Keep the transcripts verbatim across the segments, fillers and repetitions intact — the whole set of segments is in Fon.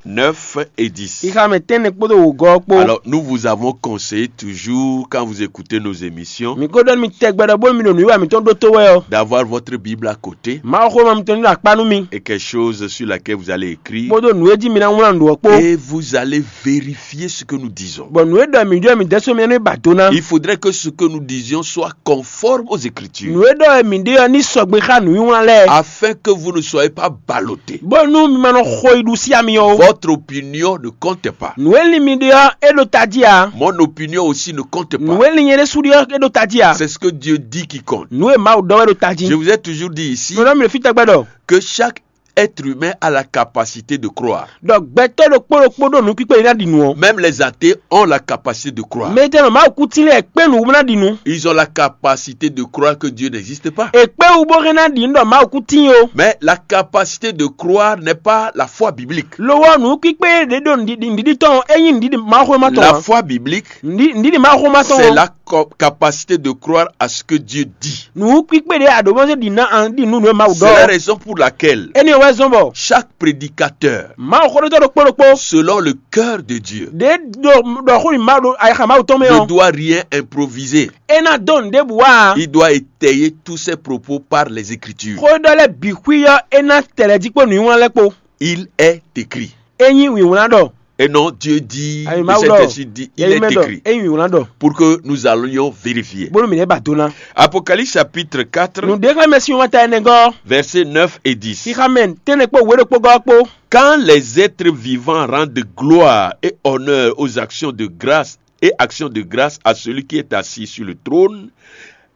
neuf et dix. Xixa mɛ tɛ́nnɛ kpódó wǒgɔ́ ɔ́ kpó. Alors, nous vous avons conseillé toujours, quand vous écoutez nos émissions, Mi ko ɖɔ nú mi tɛgbɛ ɖɔ bónú mi ɖo nǔwiwa mǐtɔn ɖótó wɛ ɔ́, d'avoir votre Bible à côté Mawuxówéma mitɔn ní ɖo akpá nú mi, et quelque chose sur laquelle vous allez écrire. Kpódó nǔ e jí mi ná wlán nǔ ɔ́ kpó. Et vous allez vérifier ce que nous disons. Bɔ nǔ e ɖɔ mǐ ɖɔ mǐ dɛ́ só mi nú ba do ná. Il faudrait que ce que nous disions soit conforme aux Écritures. Nǔ e ɖɔ wɛ mǐ ɖe ɔ́ ní sɔgbe xá nǔwiwlán lɛ́ɛ. Afin que vous ne soyez pas ballottés. Bónú mi ma nɔ xo yi ɖu sí ami ɔ́ ó. Votre opinion ne compte pas. Nǔ e lin mi ɖe ɔ́, é ɖo tají ǎ. Mon opinion aussi ne compte pas. Nǔ e lin nyɛ ɖésú ɖe ɔ́, é ɖo tají ǎ. C'est ce que Dieu dit qui compte. Nǔ e Mawu ɖɔ wɛ ɖo tají. Je vous ai toujours dit ici Nǔ ɖɔ mi ɖo fí tɛgbɛ ɖɔ. Que chaque être humain a la capacité de croire. Ɖɔ gbɛtɔ́ ɖokpó ɖokpó ɖo nǔkpíkpé e ná ɖi nǔ ɔ́. Même les athées ont la capacité de croire. Mɛ tɛnɔ Mawu kú tín lɛ́ɛ kpé nǔ wú ná ɖi nǔ. Ils ont la capacité de croire que Dieu n'existe pas. È kpé wú bó hɛn ná ɖi nǔ ɖɔ Mawu kú tín ó. Mais la capacité de croire n'est pas la foi biblique. Lo ɔ́, nǔkpíkpé ɖě ɖo nǔɖiɖi tɔn ɔ́, é nyí nǔɖiɖi Mawuxówéma tɔn. La foi biblique, nǔɖiɖi Mawuxówéma tɔn c'est la co- capacité de croire à ce que Dieu dit. Nǔkpíkpé ɖě a ɖǒ mɔ́ zé ɖi ná an ɖi nǔ nǔ e Mawu ɖɔ. C'est la raison pour laquelle Énɛ́ wɛ zɔ́n bɔ chaque prédicateur, Mawu xóɖótɔ́ ɖokpó ɖokpó selon le cœur de Dieu, ɖě ɖo ɖɔ xó nyi Mawu ɖo ayixa Mawu tɔn mɛ ne ɔ́, doit rien improviser. É ná dó nǔ ɖěbǔ wá a. Il doit étayer tous ses propos par les Écritures. Xó e ɖɔ lɛ́ɛ bǐ xwí ɔ́, é ná tɛ lɛ́ jí kpó nǔnywɛ́ lɛ́ɛ kpó. Il est écrit. É nyí wǐwlán ɖɔ. Et non, Dieu dit, Ayi le Mawu ɖɔ. Saint-Esprit dit, il Yɛyi est mɛ ɖɔ. Écrit. É nyí wǐwlán ɖɔ. Pour que nous allions vérifier. Bónú mǐ lɛ́ ba do ná. Apocalypse chapitre quatre, Nǔɖé xlɛ́ mɛ sin wata ɛnɛ gɔ́. Verset neuf et dix. Xixa mɛ tɛ́nnɛ kpó wě ɖokpó gɔ́ kpó. Quand les êtres vivants rendent gloire et honneur aux actions de grâce et actions de grâce à celui qui est assis sur le trône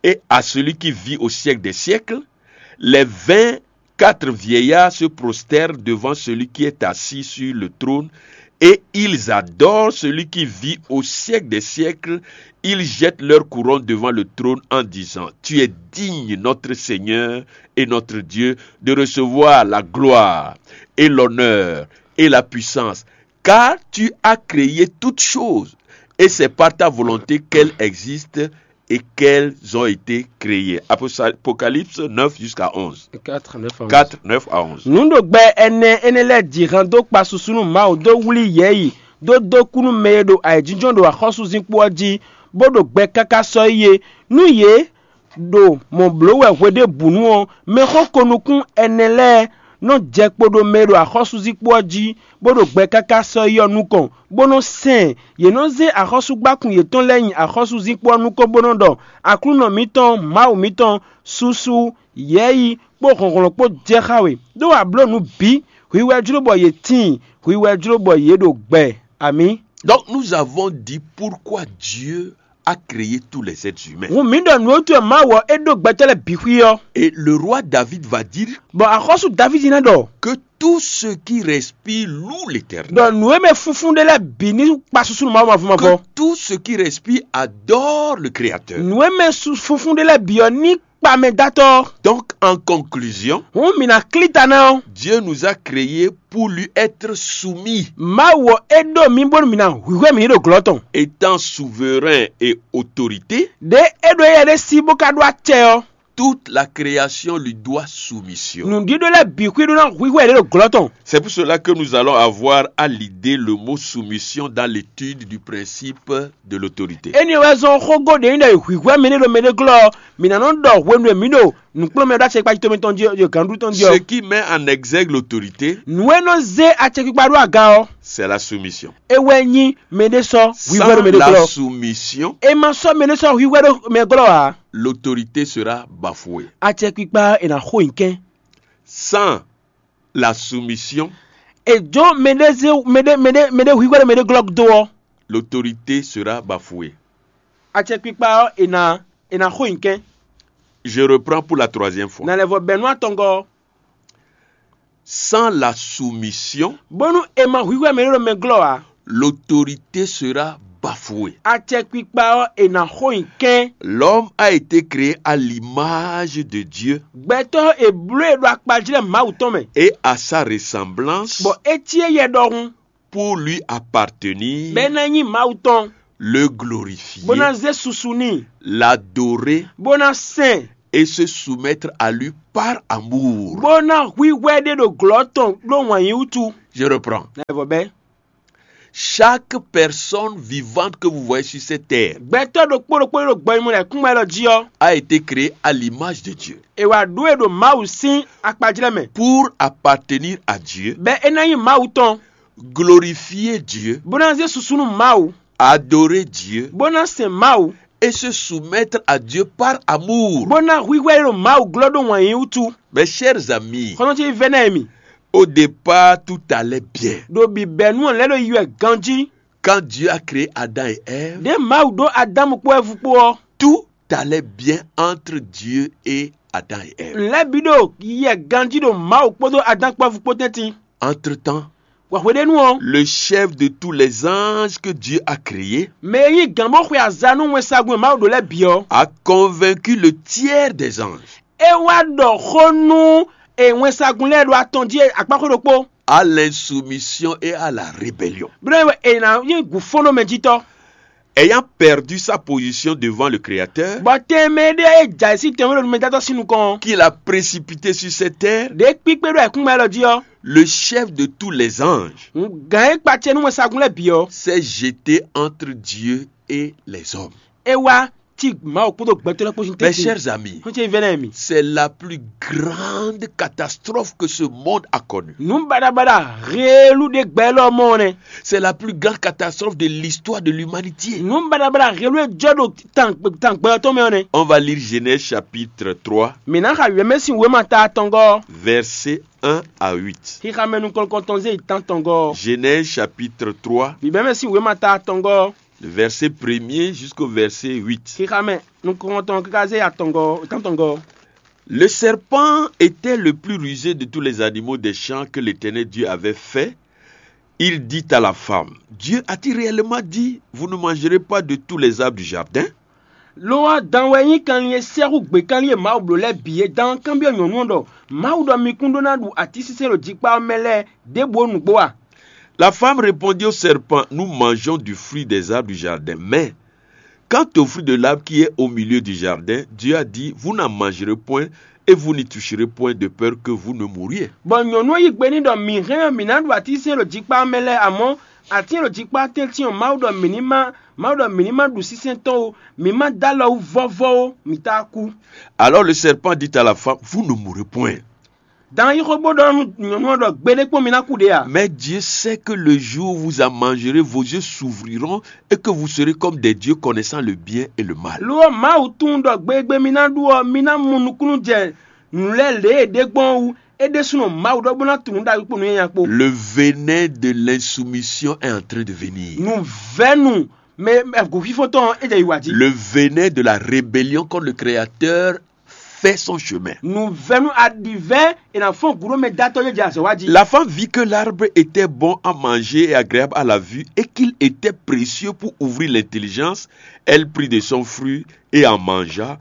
et à celui qui vit au siècle des siècles, les vingt quatre vieillards se prosternent devant celui qui est assis sur le trône et ils adorent celui qui vit au siècle des siècles. Ils jettent leur couronne devant le trône en disant : « Tu es digne, notre Seigneur et notre Dieu, de recevoir la gloire et l'honneur et la puissance, car tu as créé toutes choses, et c'est par ta volonté qu'elles existent et qu'elles ont été créées. » Aposa- Apocalypse neuf jusqu'à onze. Quatre, neuf à onze. Quatre, neuf à onze. Nǔ ɖo gbɛ ɛnɛ énɛ́ lɛ́ɛ ji han dó kpa susu nú Mawu dó wlí yɛ̌yi, dó dó kú nú mɛ e ɖo ayǐjínjɔ́n ɖo axɔ́súzinkpo ɔ́ jí, bó ɖo gbɛ káká sɔ́ yi é. Nú yě ɖo mɔ̌ bló wɛ hweɖěbǔnu ɔ́, mɛxó ko nukún ɛnɛ lɛ́ɛ nɔ jɛ kpo ɖo mɛ e ɖo axɔ́súzinkpo ɔ́ jí, bó ɖo gbɛ káká sɔ́ yi ɔ́ nukɔn, bó nɔ sɛn ɛ. Yě nɔ zé axɔ́súgbákún yětɔn lɛ́ɛ nyi axɔ́súzinkpo ɔ́ nukɔn, bó nɔ ɖɔ: Aklúnɔ mǐtɔn, Mawu mǐtɔn, susu, yɛ̌yi kpó hlɔ̌nhlɔ́n kpó jɛ xá we, ɖó a blǒ nǔ bǐ. Hwi wɛ jló bɔ yě tíin, hwi wɛ jló bɔ yě ɖo gbɛ. Amǐ. Donc nous avons dit pourquoi Dieu a créé tous les êtres humains. Hǔn mǐ ɖɔ nǔ e wútu wɛ Mawu ɔ́ é ɖó gbɛtɔ́ lɛ́ɛ bǐ xwí ɔ́. Et le roi David va dire Bɔ axɔ́sú Davídi ná ɖɔ que tout ce qui respire loue l'Éternel. Ɖɔ nǔ e mɛ funfun ɖé lɛ́ɛ bǐ ní kpa susu nú Mawu mavɔ mavɔ. Que tout ce qui respire adore le Créateur. Nǔ e mɛ su- funfun ɖé lɛ́ɛ bǐ ɔ́ ní kpa mɛ dó atɔ́. Donc, en conclusion, Hǔn mǐ ná klí ta ná ɔ́. Dieu nous a créés pour lui être soumis. Mawu ɔ́ é ɖó mǐ bónú mǐ ná hwǐhwɛ́ mǐ ɖo glɔ́ tɔn. Étant souverain et autorité, Ɖě é ɖo éyɛ́ ɖé sí bó ka ɖó acɛ ɔ́. Toute la création lui doit soumission. Nǔɖíɖó lɛ́ɛ bǐ xwí ɖó ná hwíhwɛ́ yě ɖo glɔ́ tɔn. C'est pour cela que nous allons avoir à l'idée le mot soumission dans l'étude du principe de l'autorité. Énɛ́ wɛ zɔ́n xógó ɖě nyí ɖɔ è hwǐhwɛ́ mɛ ɖé ɖo mɛ ɖé glɔ́ ɔ́, mǐ ná nɔ́ ɖɔ hwenu e mǐ ɖo nǔkplɔ́nmɛ ɖo acɛkpikpa tɔn mɛ tɔn jí ɔ́, jí ɔ́, gǎnɖú tɔn jí ɔ́. Ce qui met en exergue l'autorité, Nǔ e nɔ zé acɛkpikpa ɖó aga ɔ́, c'est la soumission. É wɛ nyí mɛ ɖé sɔ́ hwíhwɛ́ ɖo mɛ ɖé glɔ́. Sans la soumission, E ma sɔ́ mɛ ɖé sɔ́ hwíhwɛ́ ɖo mɛ glɔ́ ǎ. L'autorité sera bafouée. Acɛkpikpa ɔ́ è nǎ xo nyi kɛ́n. Sans la soumission, È jó mɛ ɖé zé mɛ ɖé mɛ ɖé mɛ ɖé hwíhwɛ́ ɖo mɛ ɖé glɔ́ dó ɔ́, l'autorité sera bafouée. Acɛkpikpa ɔ́ è nǎ è nǎ xo nyi kɛ́n. Je reprends pour la troisième fois. Nǎ lɛ́ vɔ bɛ̌ nú atɔngɔ́ ɔ́. Sans la soumission, Bónú è ma hwíhwɛ́ mɛ ɖé ɖo mɛ glɔ́ ǎ, l'autorité sera bafouée. Acɛkpikpa ɔ́ è nǎ xo nyi kɛ́n. L'homme a été créé à l'image de Dieu. Gbɛtɔ́ è bló e ɖo akpa jí lɛ́ɛ Mawu tɔn mɛ. Et à sa ressemblance, Bɔ é cí éyɛ́ ɖɔhun. Pour lui appartenir, Bɔ é ná nyí Mawu tɔn. Le glorifier, Bó ná zé susu n'i. L'adorer, Bó ná sɛn. Et se soumettre à lui par amour. Bó ná hwíhwɛ́ ɖé ɖo glɔ̌ tɔn ɖó wǎn yí wútu. Je reprends. Nɛvɔ bɛ. Chaque personne vivante que vous voyez sur cette terre Gbɛtɔ́ ɖokpó ɖokpó ɖo gbɔnyimɔ lɛ kúngbɛ lɔ jí ɔ́, a été créée à l'image de Dieu è wá ɖó e ɖo Mawu sín akpajlɛ́ mɛ, pour appartenir à Dieu, bɛ é ná nyí Mawu tɔn, glorifier Dieu, bó ná zé susu nú Mawu, adorer Dieu bó ná sɛn Mawu, et se soumettre à Dieu par amour. Bó ná hwíhwɛ́ ɖo Mawu glɔ́ ɖó wǎn yí wútu. Mes chers amis, Xɔnɔtɔ́ vɛ́ ná mi. Au départ, tout allait bien. Ɖo bǐbɛ́nu ɔ́ lɛ́ ɖo yi wɛ ganjí. Quand Dieu a créé Adam et Ève, Ɖě Mawu ɖó Adámu kpó Ɛvu kpó ɔ́, tout allait bien entre Dieu et Adam et Ève. Lɛ́ bǐ ɖo yɛ ganjí ɖo Mawu kpódó Adán kpó Ɛvu kpó tɛ́ntin. Entre-temps, Wǎ hweɖénu ɔ́, le chef de tous les anges que Dieu a créés mɛ e nyí gǎn bó xwe azǎn nú wɛnsagun e Mawu ɖó lɛ́ɛ bǐ ɔ́, a convaincu le tiers des anges é wá ɖɔ xó nú e wɛnsagun lɛ́ɛ ɖo atɔn jí akpáxwé ɖokpó. à l'insoumission et à la rébellion. Bó ɖɔ è nǎ nyí gǔfɔ́nɔmɛjítɔ́. Ayant perdu sa position devant le Créateur, Bɔ tɛnmɛ ɖé e jɛ ayǐ sín tɛnmɛ ɖo numɛdátɔ́ sín nukɔn ɔ́, qu'il a précipité sur cette terre, ɖě kpíkpé ɖo ayǐkúngban élɔ́ jí ɔ́, le chef de tous les anges gǎn e kpacɛ nú wɛnsagun lɛ́ɛ bǐ ɔ́, s'est jeté entre Dieu et les hommes. É wá cí Mawu kpódó gbɛtɔ́ lɛ́ɛ kpó sín Mes tɛ́ntin. chers amis, Xɔ́ntɔn vɛ́ ná mi. C'est la plus grande catastrophe que ce monde a connue. Nǔ baɖabaɖa heelu ɖé gbɛ élɔ́ mɔ ɔ́ nɛ́. C'est la plus grande catastrophe de l'histoire de l'humanité. Nǔ baɖabaɖa heelu e jɔ ɖo tan tan gbɛ ɔ́ tɔn mɛ ɔ́ nɛ́. On va lire Genèse chapitre trois, Mǐ ná xa wěmɛ sín wěma ta atɔngɔ́ ɔ́. Versets un à huit. Xixamɛ nukɔn tɔn zé yi tán tɔngɔ́ ɔ́. Genèse chapitre trois, Vǐbɛ́mɛ sín wěma ta atɔngɔ́ ɔ́. le verset premier jusqu'au verset huit. Xixamɛ nukɔn tɔn káká zé atɔngɔ́ tán tɔngɔ́ ɔ́. Le serpent était le plus rusé de tous les animaux des champs que l'Éternel Dieu avait fait. Il dit à la femme, Dieu a-t-il réellement dit, vous ne mangerez pas de tous les arbres du jardin ? Lo ɔ́, dan wɛ nyí kanlin e sɛ́xú gběkanlin e Mawu bló lɛ́ɛ bǐ é dan kanbyɔ́ nyɔ̌nu ɔ́ ɖɔ: Mawu ɖɔ mi kún ɖó ná ɖu atínsínsɛ́n ɖo jikpá ɔ́ mɛ lɛ́ɛ ɖěbǔ ó nǔgbó a? La femme répondit au serpent, nous mangeons du fruit des arbres du jardin, mais quant au fruit de l'arbre qui est au milieu du jardin, Dieu a dit, vous n'en mangerez point et vous n'y toucherez point de peur que vous ne mouriez. Bɔ nyɔ̌nu ɔ́ yí gbe n'i ɖɔ: Mǐ hɛn ɔ́, mǐ ná ɖu atínsínsɛ́n ɖo jikpá ɔ́ mɛ lɛ́ɛ, amɔ̌ atín e ɖo jikpá tɛ́ntin ɔ́, Mawu ɖɔ mǐ ní má Mawu ɖɔ mǐ ní má ɖu sínsɛ́n tɔn ó, mǐ má dó alɔ wú vɔ́vɔ́ ó, mǐ tá kú. Alors le serpent dit à la femme, vous ne mourrez point. Dan yí xó bó ɖɔ nú nyɔ̌nu ɔ́ ɖɔ: Gbeɖé kpɔ́n mi ná kú ɖě a? Mais Dieu sait que le jour où vous en mangerez, vos yeux s'ouvriront et que vous serez comme des dieux connaissant le bien et le mal. Lo ɔ́, Mawu tunwun ɖɔ gbegbe mi ná ɖu ɔ́, mi ná mɔ nukúnnú jɛ nǔ lɛ́ɛ lě e ɖě gbɔn ɔ́ wú. É ɖésúnɔ Mawu ɖɔ bó ná tunwun ɖagbe kpó nǔ nyanya kpó. Le venin de l'insoumission est en train de venir. Nǔvɛ́nu mɛ gǔfífɔ́ntɔn ɔ́, é jɛ yi wǎ jí. Le venin de la rébellion contre le Créateur fait son chemin. Nǔvɛ́nu aɖivɛ́ è nǎ fɔ́n gǔ ɖó mɛ dó atɔ́ jɛ azɔ̌ wá jí. La femme vit que l'arbre était bon à manger et agréable à la vue et qu'il était précieux pour ouvrir l'intelligence. Elle prit de son fruit et en mangea.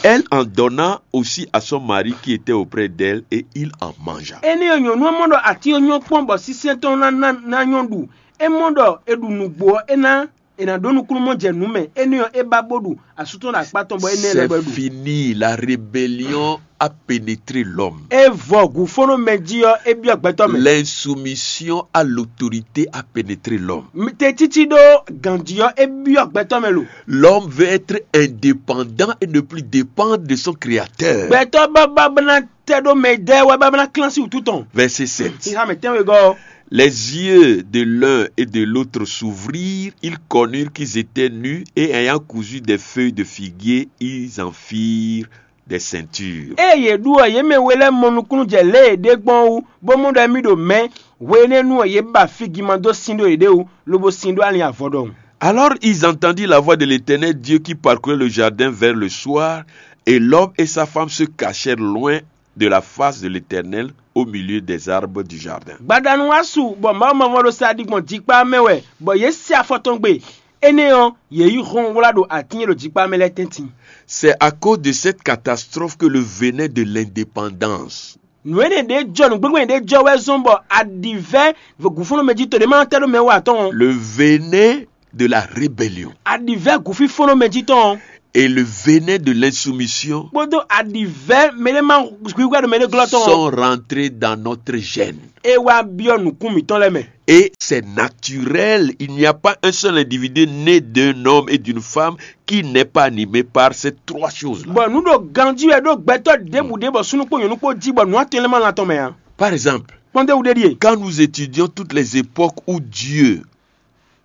Elle en donna aussi à son mari qui était auprès d'elle et il en mangea. Énɛ́ ɔ́, nyɔ̌nu ɔ́ mɔ ɖɔ atín ɔ́ nyɔ́ kpɔ́n bɔ sínsɛ́n tɔn ná ná ná nyɔ́ ɖu. É mɔ ɖɔ è ɖu nǔgbó ɔ́, é ná è nǎ ɖó nukúnnú mɔ jɛ nǔ mɛ. Énɛ́ ɔ́, é ba bó ɖu asú tɔn ɖo akpá tɔn bɔ énɛ́ lɛ́ C'est bɔ é ɖu. Fini, la rébellion a pénétré l'homme. É vɔ gǔfɔ́nɔmɛ jí ɔ́, é byɔ́ gbɛtɔ́ mɛ. L'insoumission à l'autorité a pénétré l'homme. Tɛtící ɖó gǎnjí ɔ́, é byɔ́ gbɛtɔ́ mɛ lo. L'homme veut être indépendant et ne plus dépendre de son créateur. Gbɛtɔ́ bábá bá ná tɛ ɖó mɛ ɖɛ́ wɛ bá bá ná klán sí wútu tɔn. Verset sept. Xixá mɛ tɛ́nwegɔ́ ɔ́. Les yeux de l'un et de l'autre s'ouvrirent, ils connurent qu'ils étaient nus et ayant cousu des feuilles de figuier, ils en firent des ceintures. Ée yě ɖu ɔ́, yě mɛ we lɛ́ɛ mɔ nukúnnú jɛ lě e è ɖe gbɔn ɔ́ wú, bó mɔ ɖɔ émí ɖo mɛ̌. Hwenɛ́nu ɔ́, yě ba fígiman dó sín ɖó yěɖée wú, lobo sín ɖó alin avɔ ɖɔhun. Alors ils entendirent la voix de l'Éternel Dieu qui parcourait le jardin vers le soir, et l'homme et sa femme se cachèrent loin de la face de l'Éternel au milieu des arbres du jardin. Gbadanu wá su bɔ Mawu mavɔ ɖo sa ɖi gbɔn jikpá mɛ wɛ, bɔ yě se afɔ tɔn gbe. Énɛ́ ɔ́, yě yi hɔn wlá ɖo atín e ɖo jikpá mɛ lɛ́ɛ tɛ́ntin. C'est à cause de cette catastrophe que le venin de l'indépendance. Nǔ énɛ́ ɖě jɔ nǔgbégbé ɖě jɔ wɛ zɔ́n bɔ aɖǐvɛ́ gǔfúnnu mɛ jí to ɖé ma tɛ́ ɖó mɛ wú atɔn. Le venin de la rébellion. Aɖǐvɛ́ gǔfífɔ́nɔ mɛ jí tɔn. et le venin de l'insoumission kpódó aɖivɛ́ mɛɖé ma hwíhwɛ́ ɖo mɛɖé glɔ́ tɔn ɔ́, sont rentrés dans notre gène. É wá byɔ́ nǔkún mǐtɔn lɛ́ɛ mɛ. Et c'est naturel, il n'y a pas un seul individu né d'un homme et d'une femme qui n'est pas animé par ces trois choses-là. Bɔ nǔ ɖo ganjí wɛ ɖó gbɛtɔ́ ɖěbǔ ɖé bɔ súnnu kpó nyɔ̌nu kpó jí bɔ nǔ atɔn lɛ́ɛ ma lan tɔn mɛ ǎ. Par exemple, kpɔ́ndéwú ɖé ɖíe. Quand nous étudions toutes les époques où Dieu,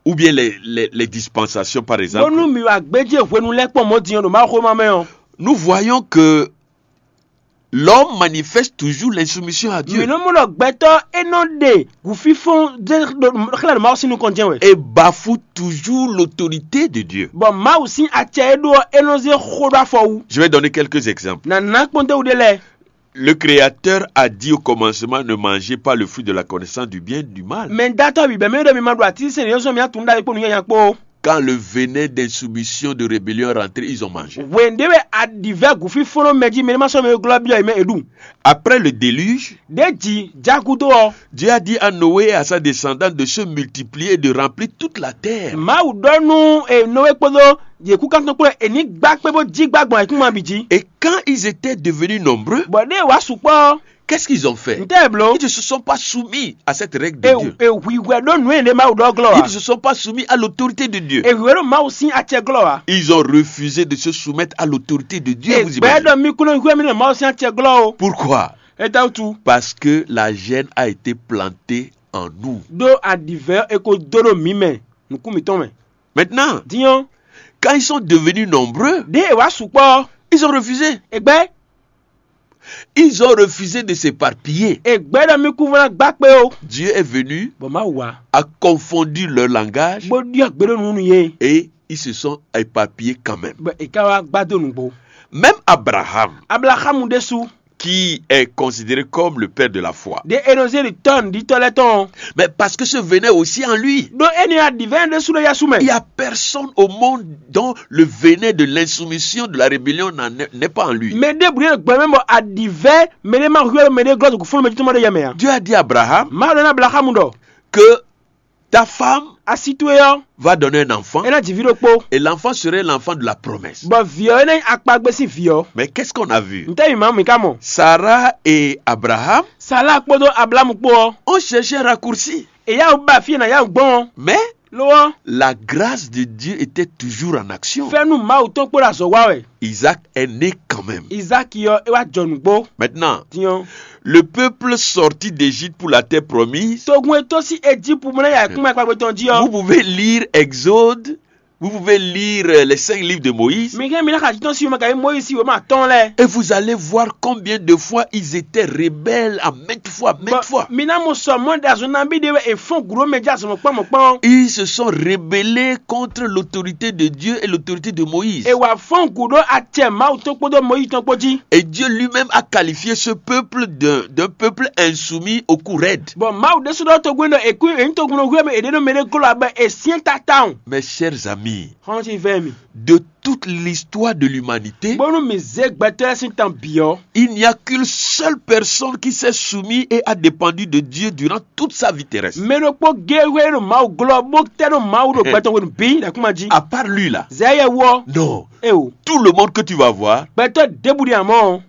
ou bien les, les, les dispensations, par exemple, bónú mi wa gbéjé hwenu lɛ́ kpɔ́n mɔ̌ din ɔ́ ɖo Mawu xwéma mɛ ɔ́, nous voyons que l'homme manifeste toujours l'insoumission à Dieu. Mǐ nɔ mɔ ɖɔ gbɛtɔ́ é nɔ ɖe gǔfínfɔ́n ɖé ɖo xlɛ́ ɖo Mawu sín nukɔn jɛ́n wɛ. Et bafoue toujours l'autorité de Dieu. Bɔ Mawu sín acɛ e ɖó ɔ́, é nɔ zé xó ɖó afɔ wú. Je vais donner quelques exemples. Nǎ ná kpɔ́ndéwú ɖé lɛ́ɛ. Le Créateur a dit au commencement, ne mangez pas le fruit de la connaissance du bien et du mal. Mɛ datɔ́ bǐ bɛ́ mɛ ɖɔ mi ma ɖu atínsɛnɛ yɔ́sɔn mi atún ɖ'ayǐ kpó nǔ nyanya kpó. Quand le venin d'insoumission, de rébellion est rentré, ils ont mangé. Hwɛ̌n ɖé wɛ aɖǐvɛ́ gǔfínfɔ́n mɛ jí mɛ ní ma sɔ́ mɛ e glɔ́ byɔ́ yě mɛ è ɖu. Après le déluge, Ɖěji já gúdo ɔ́, Dieu a dit à Noé et à sa descendante de se multiplier et de remplir toute la terre. Mawu ɖɔ nú e Nɔwé kpódó yě kúkántɔn kpó è ní gbá kpé bó jí gbá gbɔn ayǐkúngban bǐ jí. Et quand ils étaient devenus nombreux, Bɔ ɖěe wǎ sukpɔ́ ɔ́, qu'est-ce qu'ils ont fait? Ntɛ́ è blǒ? Ils ne se sont pas soumis à cette règle de Dieu. E hwǐhwɛ́ ɖó nǔ e ɖě Mawu ɖɔ glɔ́ ǎ. Ils ne se sont pas soumis à l'autorité de Dieu. E hwǐhwɛ́ ɖo Mawu sín acɛ glɔ́ ǎ. Ils ont refusé de se soumettre à l'autorité de Dieu. Vous imaginez? Egbɛ́ ɖɔ mí kún nɔ hwíhwɛ́ mì ɖo Mawu sín acɛ glɔ́ o. Pourquoi? Étɛ́wútu? Parce que la gêne a été plantée en nous. Ɖó aɖǐvɛ́ e ko dó ɖo mǐ mɛ, nǔkún mǐtɔn mɛ. Maintenant, Din ɔ́, quand ils sont devenus nombreux, ɖěe è wǎ sukpɔ́ ɔ́, ils ont refusé. Egbɛ́, Ils ont refusé de s'éparpiller. Egbɛ́ ɖɔ mí kún vɔ ná gbá kpé ó. Dieu est venu, Bɔ Mawu wá, a confondu leur langage bó ɖyɔ́ gbe ɖó nǔ nú yě. Et ils se sont éparpillés quand même. Bɔ è ka wá gbá dó nǔgbó. Même Abraham, Ablaxámu ɖésú, Qui est considéré comme le père de la foi. Ɖě Enɔzeli tɔ́ nǔɖitɔ́ lɛ́ɛ tɔn ɔ́. Mais parce que ce venait aussi en lui. Ɖó énɛ́ aɖǐvɛ́ ɖésú ɖo yɛ́sú mɛ. Il n'y a personne au monde dont le venin de l'insoumission, de la rébellion n'en- n'est pas en lui. Mɛ ɖěbǔ ɖé ɖo gbɛ mɛ bɔ aɖǐvɛ́ mɛ ɖé ma hwíhwɛ́ ɖo mɛ ɖé glɔ́ ɖo gǔfúnnu mɛ jí tɔn mɔ ɖé yɛ mɛ ǎ. Dieu a dit à Abraham Mawu ɖɔ nú Ablaxámu ɖɔ, que ta femme va donner un enfant, é ná ji vǐ ɖokpó. Et l'enfant serait l'enfant de la promesse. Bɔ vǐ ɔ́ é ná nyí akpagbe sín vǐ ɔ́. Mais qu'est-ce qu'on a vu? Ntɛ́ mǐ ma mǐ ka mɔ? Sarah et Abraham Sala kpódó Ablamu kpó ɔ́, ont cherché un raccourci. È yá wǔ ba fí e nǎ yá wǔ gbɔn ɔ́. Mais Lo ɔ́, la grâce de Dieu était toujours en action. Fɛ́nú Mawu tɔn kpó ɖo azɔ̌ wa wɛ. Isaac est né quand même. Izáki ɔ́, é wá jɔ nǔgbó. Maintenant, Din ɔ́, le peuple sorti d'Égypte pour la terre promise. Togun e tɔ́n sín Ejípu mɔ ná yi ayǐkúngban kpagbe tɔn jí Vous ɔ́. Pouvez lire Exode, vous pouvez lire euh, les cinq livres de Moïse. Mi hɛn mi ná xa títɔn sín wěma kayi Mɔyízi sín wěma atɔn lɛ́ɛ. Et vous allez voir combien de fois ils étaient rebelles à maintes fois, maintes fois. Mi ná mɔ sɔ mɔ ɖe azɔn nabí ɖe wɛ è fɔ́n gǔ ɖó mɛ jí azɔn mɔ̌kpán mɔ̌kpán. Ils se sont rebellés contre l'autorité de Dieu et l'autorité de Moïse. È wǎ fɔ́n gǔ ɖó acɛ Mawu tɔn kpódó Mɔyízi tɔn kpó jí. Et Dieu lui-même a qualifié ce peuple d'un d'un peuple insoumis au cou raide. Bɔ Mawu ɖésú ɖɔ togun ɖɔ è kú è nyí togun nɔ hwíwɛ mɛ è ɖe nɔ mɛ ɖé glɔ́ abɛ è syɛ́n tatawun. Mes chers amis, Xɔ́n ci vɛ́ mi. De toute l'histoire de l'humanité, Bónú mǐ zé gbɛtɔ́ lɛ́ɛ sín tan bǐ ɔ́, Il n'y a qu'une seule personne qui s'est soumise et a dépendu de Dieu durant toute sa vie terrestre. Mɛ ɖokpó géé hwɛ ɖo Mawu glɔ́ bó tɛ́ ɖo Mawu ɖo gbɛtɔ́ hwenu bǐ ɖo akúma jí. À part lui là, Zɛ̌ yɛ wú ɔ́, non. Eo, Tout le monde que tu vas voir Gbɛtɔ́ ɖěbǔ ɖi amɔ̌ ɔ́,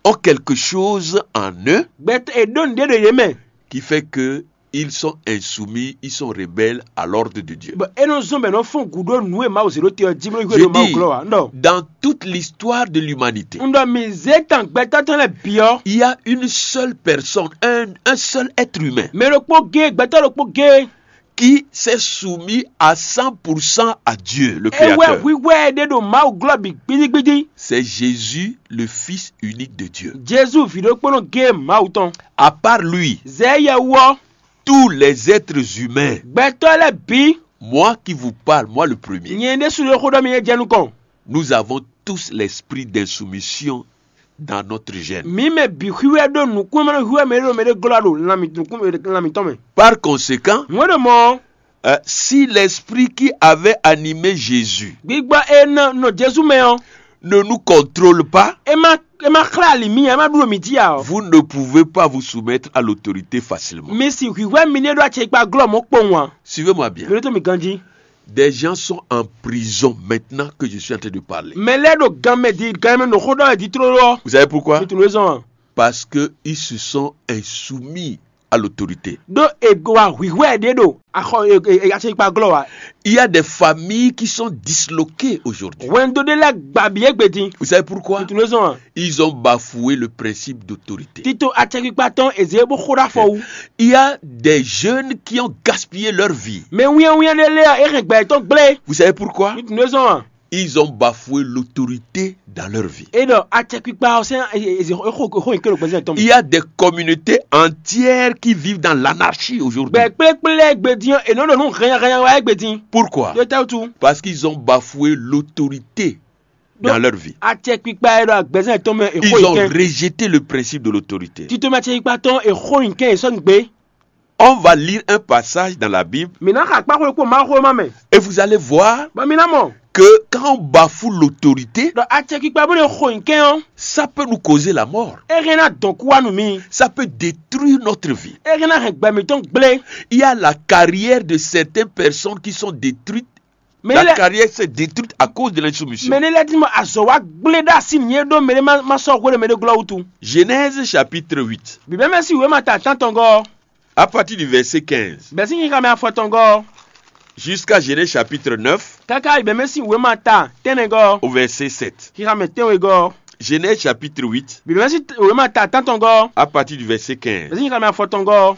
ont quelque chose en eux gbɛtɔ́ è ɖó nǔɖé ɖo yě mɛ. Qui fait que ils sont insoumis, ils sont rebelles à l'ordre de Dieu. Bɔ é nɔ zɔ́n bɔ è nɔ fɔ́n gǔ ɖó nǔ e Mawu zě ɖó te ɔ́ jí bó nɔ hwɛ Je ɖo Mawu dis, glɔ́ ǎ. Un ɖɔ dans toute l'histoire de l'humanité, un ɖɔ mǐ zé tan gbɛtɔ́ tɔn lɛ́ɛ bǐ ɔ́, Il y a une seule personne, un, un seul être humain mɛ ɖokpó géé, gbɛtɔ́ ɖokpó géé qui s'est soumis à cent pour cent à Dieu, le é wɛ Créateur. Hwíhwɛ́ ɛ ɖe ɖo Mawu glɔ́ bǐ gbídígbídí. C'est Jésus, le Fils unique de Dieu. Jezu vǐ ɖokpónɔ géé Mawu tɔn. À part lui, Zɛ̌ yɛ wú ɔ́, tous les êtres humains, gbɛtɔ́ lɛ́ɛ bǐ, Moi qui vous parle, moi le premier, nyɛ ɖésú ɖo xó ɖɔ mi é jɛ nukɔn. Nous avons tous l'esprit d'insoumission dans notre gène. Mǐ mɛ bǐ xwíwɛ ɖó nǔkún e ma nɔ hwíwɛ mɛ ɖé ɖo mɛ ɖé glɔ́ ɖo lan mǐ- nǔkún lan mǐtɔn mɛ. Par conséquent, Nǔ e ɖo mɔ̌, euh, si l'esprit qui avait animé Jésus gbígbɔ e nɔ nɔ Jezu mɛ ɔ́, ne nous contrôle pas, é má é má xlɛ́ ali mì ǎ, é má ɖu ɖo mǐ jí ǎ ɔ́, vous ne pouvez pas vous soumettre à l'autorité facilement. Mi si hwǐhwɛ́ mi ní ɖó acɛkpa glɔ́ mɔ̌ kpowun ǎ. Suivez-moi bien. Mi ɖótó mi ganjí. Des gens sont en prison maintenant que je suis en train de parler. Mɛ lɛ́ɛ ɖo gan mɛ di gan mɛ ɖo xó ɖɔ wɛ di tlóló ɔ́. Vous savez pourquoi? Mi tunú ezɔn a? Parce que ils se sont insoumis à l'autorité. Ɖó ego wa hwihwɛ ɖé ɖo axɔ acɛkpa glɔ wa. Il y a des familles qui sont disloquées aujourd'hui. Wɛndo ɖé lɛ gbabi egbe din. Vous savez pourquoi? Mi tunú ezɔn a? Ils ont bafoué le principe d'autorité. Tito acɛkpa tɔn eze bó xó ɖo afɔ wu. Il y a des jeunes qui ont gaspillé leur vie. Mɛ wíyɛwíyɛ ɖé lɛ ɔ, e hɛn gbɛ tɔn gblé. Vous savez pourquoi? Mi tunú ezɔn a? Ils ont bafoué l'autorité dans leur vie. E ɖɔ acɛkpa ɔ sɛn exo exo yin kelo gbɛzɛn tɔn. Il y a des communautés entières qui vivent dans l'anarchie aujourd'hui. Gbɛ kplekple egbe din ɔ, e nɔ ɖo nu hɛnyahɛnya wa egbe din. Pourquoi? Ɖo tɛ wutu. Parce qu'ils ont bafoué l'autorité dans leur vie. Acɛkpa e ɖo agbɛzɛn tɔn mɛ exo Ils ont yin kɛn. Rejeté le principe de l'autorité. Tito mɛ acɛkpa tɔn exo yin kɛn esɔ gbe. On va lire un passage dans la Bible Mi na xa kpáxwe kpó Mawu xó ma mɛ. Et vous allez voir Bɔ mi na mɔ. Que quand on bafoue l'autorité, Ɖɔ acɛkpa bó ɖe xo yin kɛn ɔ́. Ça peut nous causer la mort. E hɛn na dɔn kú wa nú mi. Ça peut détruire notre vie. E hɛn na hɛn gbɛ mitɔn gblé. Il y a la carrière de certaines personnes qui sont détruites. Mɛ La ne lɛ carrière s'est détruite à cause de l'insoumission. Mɛ ne lɛ di mɔ azɔ wa gblé ɖa si nyi ɖó mɛ ne ma ma sɔ hwe ɖo mɛ ɖé glɔ wutu. Genèse chapitre huit, Bibɛ mɛ si wema ta tantɔngɔ. à partir du verset quinze, Bɛ si xixa mɛ afɔtɔngɔ. Jusqu'à Genèse chapitre neuf, Kaka bibɛ mɛ si wema ta tɛnɛgɔ. Au verset sept. Xixa mɛ tɛnwegɔ. Genèse chapitre huit, Bibɛ mɛ si wema ta tantɔngɔ. À partir du verset Bɛ quinze. si xixa mɛ afɔtɔngɔ.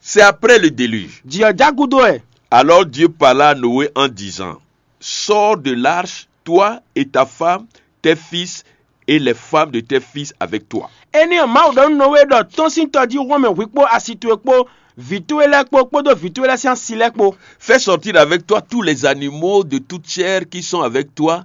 C'est après le déluge. Jiyɔ jagudo ɛ. Alors Dieu parla à Noé en disant, Sors de l'arche, toi et ta femme, tes fils et les femmes de tes fils avec toi. Eni ɔ Mawu ɖɔ nú Nowe ɖɔ tɔ́n sín tɔjíhún mɛ hwi kpó asi towe kpó vǐ towe lɛ́ɛ kpó kpódó vǐ towe lɛ́ɛ sín asi lɛ́ɛ kpó. Fais sortir avec toi tous les animaux de toute chair qui sont avec toi,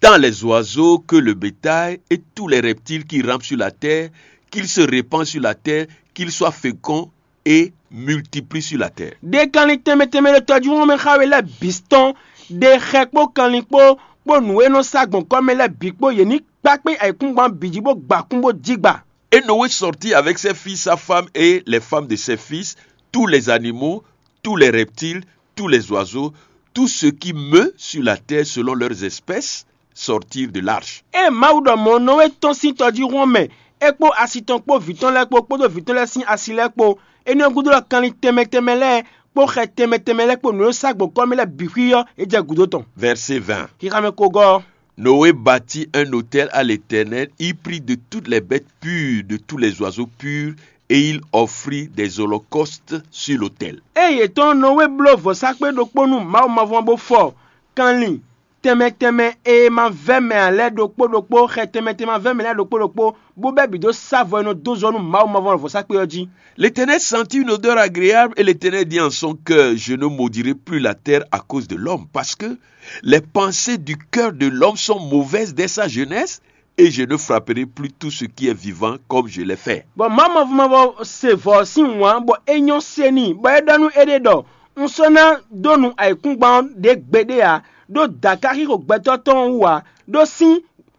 tant les oiseaux que le bétail et tous les reptiles qui rampent sur la terre, qu'ils se répandent sur la terre, qu'ils soient féconds et multiplient sur la terre. Ɖe kanlin tɛnmɛ tɛnmɛ ɖo tɔjíhún mɛ xá we lɛ́ɛ bǐ tɔn ɖe xɛ kpó kanlin kpó kpó nǔ e nɔ sá gbɔn kɔ́ mɛ lɛ́ɛ bǐ kpó yě ní kpá kpé ayǐkúngban bǐ jí bó gba kún bó jí gba. Et Noé sortit avec ses fils, sa femme et les femmes de ses fils, tous les animaux, tous les reptiles, tous les oiseaux, tout ce qui meut sur la terre selon leurs espèces, sortirent de l'arche. Ée Mawu ɖɔ mɔ̌ nɔ e tɔ́n sín tɔjíhún ɔ́ mɛ, é kpó asi tɔn kpó vǐ tɔn lɛ́ɛ kpó kpódó vǐ tɔn lɛ́ɛ sín asi lɛ́ɛ kpó, énɛ́ ɔ́ gúdo ɔ́ kanlin tɛnmɛ tɛnmɛ lɛ́ɛ kpó xɛ tɛnmɛ tɛnmɛ lɛ́ɛ kpó nǔ e sá gbɔn kɔ́ mɛ lɛ́ɛ bǐ xwí ɔ́, é jɛ gǔdo tɔn. Verset vingt. Xixamɛ kogɔ́ ɔ́, Noé bâtit un autel à l'Éternel, il prit de toutes les bêtes pures, de tous les oiseaux purs, et il offrit des holocaustes sur l'autel. Ée yě tɔn Nɔwée bló vɔ̌sákpe ɖokpó nú Mawu mavɔ́ bó fɔ kanlin tɛnmɛ tɛnmɛ e ma vɛ́ mɛ ǎ lɛ́ɛ ɖokpó ɖokpó, xɛ tɛnmɛ tɛnmɛ ma vɛ́ mɛ lɛ́ɛ ɖokpó ɖokpó, bó bɛ́ bǐ dó sá vɔ e nɔ dó zɔ nú Mawu mavɔ́ vɔ̌sákpe ɔ́ jí. L'Éternel sentit une odeur agréable et l'Éternel dit en son cœur, je ne maudirai plus la terre à cause de l'homme, parce que les pensées du cœur de l'homme sont mauvaises dès sa jeunesse, et je ne frapperai plus tout ce qui est vivant comme je l'ai fait. Bɔ Mawu mavɔ́ mavɔ se vɔ̌ sín wǎn bɔ é nyɔ́ se n'i, bɔ é ɖɔ nú éɖée ɖɔ: Un sɔ́ ná dó nu ayǐkúngban ɔ́ ɖě gbeɖé ǎ, ɖó dǎ ka xixo gbɛtɔ́ tɔn ɔ́ wú ǎ, ɖó sín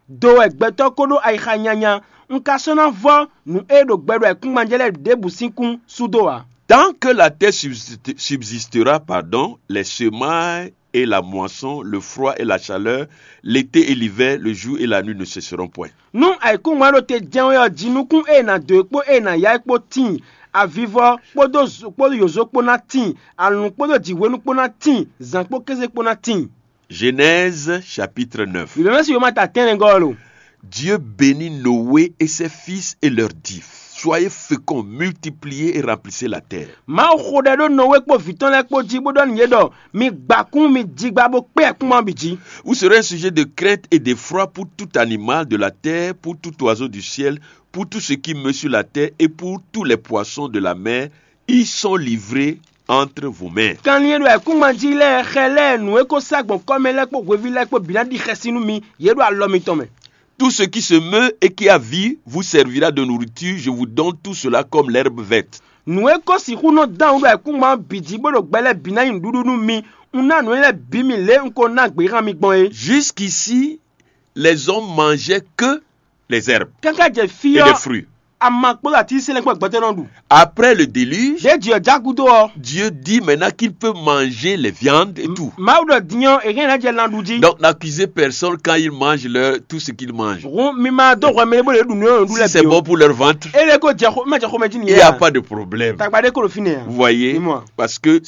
do wɛ gbɛtɔ́ ko ɖó ayixa nyanya. Un ka sɔ́ ná vɔ́ nǔ e ɖo gbɛ ɖo ayǐkúngban jɛ lɛ́ɛ ɖěbǔ sín kún sú dó ǎ. Tant que la terre subsiste- subsistera, pardon, les semailles et la moisson, le froid et la chaleur, l'été et l'hiver, le jour et la nuit ne cesseront point. Nú ayǐkúngban ɖo te jɛ́n wɛ ɔ́, jinukún e è nǎ dó e kpó e è nǎ ya é kpó tíin, avivɔ kpódó zo- kpódó yǒzo kpó ná tíin, alǔn kpódó jǐhwenu kpó ná tíin, zǎn kpó kéze kpó ná tíin. Genèse chapitre neuf. Bǐbɛ́mɛ́si wěma ta tɛ́nnɛgɔ́ ɔ́ lo. Dieu bénit Noé et ses fils et leur dit, soyez féconds, multipliez et remplissez la terre. Mawu xo ɖɛ ɖó Nɔwée kpó vǐ tɔn lɛ́ɛ kpó jí bó ɖɔ nú yě ɖɔ: Mi gba kún, mi jigba bó kpé ayǐkúngban ɔ́ bǐ jí. Vous serez un sujet de crainte et d'effroi pour tout animal de la terre, pour tout oiseau du ciel, pour tout ce qui meut sur la terre et pour tous les poissons de la mer. Ils sont livrés entre vos mains. Kanlin e ɖo ayǐkúngban jí lɛ́ɛ xɛ lɛ́ɛ nǔ e ko sá gbɔn kɔ́ mɛ lɛ́ɛ kpó hweví lɛ́ɛ kpó bǐ ná ɖi xɛsi nú mi, yě ɖo alɔ mitɔn mɛ. Tout ce qui se meut et qui a vie vous servira de nourriture, je vous donne tout cela comme l'herbe verte. Nǔ e ko sixú nɔ dán wǔ ɖo ayǐkúngban ɔ́ bǐ jí bó ɖo gbɛ lɛ́ɛ bǐ ná nyí nǔɖuɖu nú mi, un ná nǔ énɛ́ lɛ́ɛ bǐ mi lě e un ko ná gběhan mi gbɔn é. Jusqu'ici, les hommes mangeaient que les herbes Káká jɛ fí et les ɔ́, fruits. ama kpódó atínsínsɛ́n kpó gbɛtɔ́ nɔ ɖu. Après le déluge, Ɖěe jǐ ɔ́ já gúdo ɔ́, Dieu dit maintenant qu'il peut manger les viandes et tout. Mawu ɖɔ din ɔ́, è hɛn ná jɛ lan ɖu jí. Donc n'accusez personne quand ils mangent leur, tout ce qu'ils mangent. Hǔn mi ma dó hwɛ mɛ ɖé bó lě ɖu nǔ e ɖu Si lɛ́ɛ c'est bǐ ó. Bon pour leur ventre, Ényí é ko jɛ xó, é ma jɛ xomɛ jí il nìyẹn. n'y a A? Pas de problème. Tagba ɖé ko ɖo fínɛ́ a? Vous voyez, Dis-moi. Parce que